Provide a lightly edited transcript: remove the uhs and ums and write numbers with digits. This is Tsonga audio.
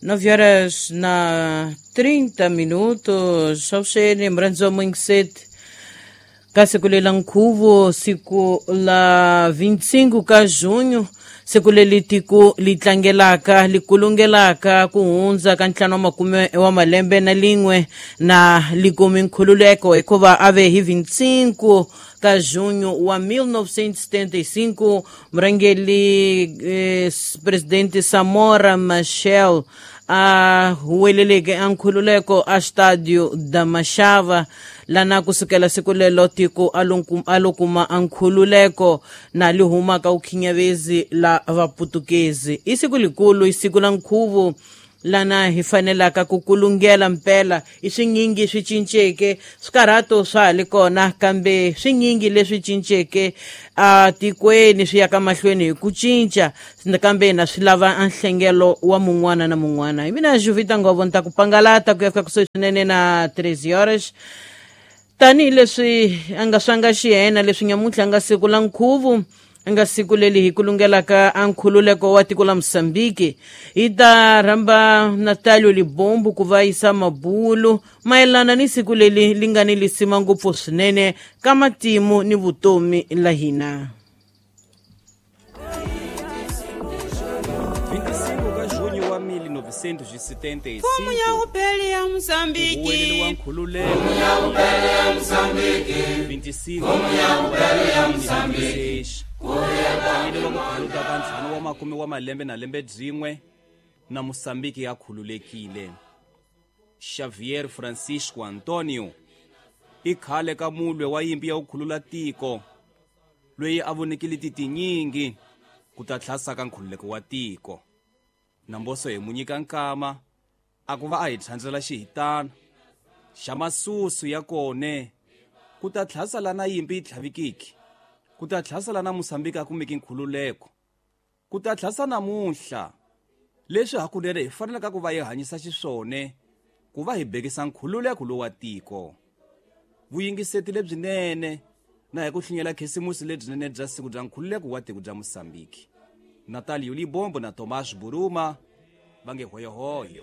9 horas na 30 minutos. Avuxeni murhandziwa Moingiseti ka siku lela nkhuvo, siku la 25 ka junho, siku leri tiko li tlangelaka li kulungelaka ku hundza ka ntlhanu wa makume wa malembe na lin'we na likumi nkhululeko, hikuva a ve hi 25 ka junho wa 1975 murhangeri presidente Samora Machel a huweleleke a nkhululeko a Stadio da Machava, lana kusukela siku lelo tiko a lo kuma a nkhululeko na li humaka ukhinyavezi la vaputukezi. I siku likulu, i siku la nkhuvo lana hi fanelaka ku kulungela mpela. I swinyingi swi cinceke, swikarhato swa ha li kona, kambe swinyingi leswi cinceke atikweni swi yaka mahlweni hi ku cinca, kambe na swi lava a nhlengelo wa mun'wana na mun'wana. Hi mina Juvita Ngovo, ni ta ku pangalata ku ya fika kusuhi swinene na 13 horas, tanihileswi a nga swanga xihena leswi nyamuntlha nga siku la nkhuvo, nga siku leri hi kulungelaka a nkhululeko wa tiko la Mosambiki. Hi ta rhamba Natalio Libombo ku va yisa mabulu mayelana ni siku leri li nga ni lisima ngopfu swinene ka matimu ni vutomi la hina. 25 ka junho wa 1975, Mfumo ya upele ya huwelelo wa Mozambiki. Nkhululeko 25 wa ku khuluka ka ntlhanu wa makume wa malembe na lembe byin'we na Mosambiki ya khululekile. Xavier Francisco Antonio i khale ka mulwe wa yimpi ya ku khulula tiko, loyi a vonekile titinyingi ku ta tlhasa ka nkhululeko wa tiko. Namboso hi mu nyika nkama a ku va a hi tlhandzela xihitana xa masusu ya kone ku ta tlhasa lana yimpi yi tlhavikiki, ku ta tlhasa lana Mosambiki a kumeki nkhululeko, ku ta tlhasa namuntlha leswi hakunene hi fanelaka ku va hi hanyisa xiswone ku va hi bekisa nkhululeko lowa tiko. Vuyingiseti lebyinene na hi ku hlinyela khisimusi lebyinene bya siku bya nkhululeko wa tiko bya Mosambiki. Natalio Libombo na Tomas Buruma va nge hoyohoyo.